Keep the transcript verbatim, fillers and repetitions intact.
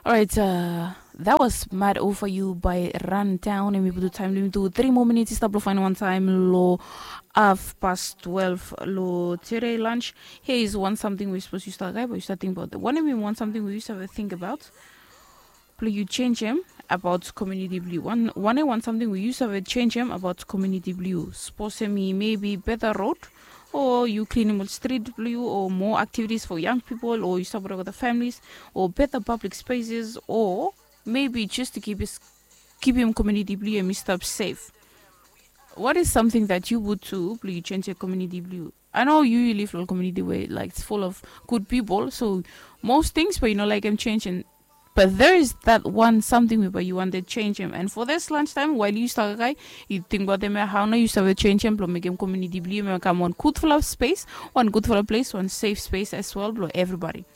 Alright, uh, that was Mad Over You by Rundown. Em i putu taem blong yumi tu three more minutes i stap blong faenem wan taem long half past twelve long today lunch. Here is one something we suppose yu stap guy, but yu stap think about. Wanem i wan something we yu save think about? Blong yu change em about community blong yu. One, wanem wan something we yu save change em about community blong yu. Suppose em i maybe better road, or yu cleanem ol street blong yu, or more activities for young people, or yu stap work with the families, or better public spaces, or maybe just to keep is keepim community blong yu em i stap safe. What is something that you would do blong yu change your community blong yu? I know yu yu live long community where like it's full of good people, so most things but you know like em change and but there is that one something we but you want to change him and for this lunch time while you start guy you think about them how now you start change him blong make him community blong him come one good full of space, one good full of place, one safe space as well blong everybody.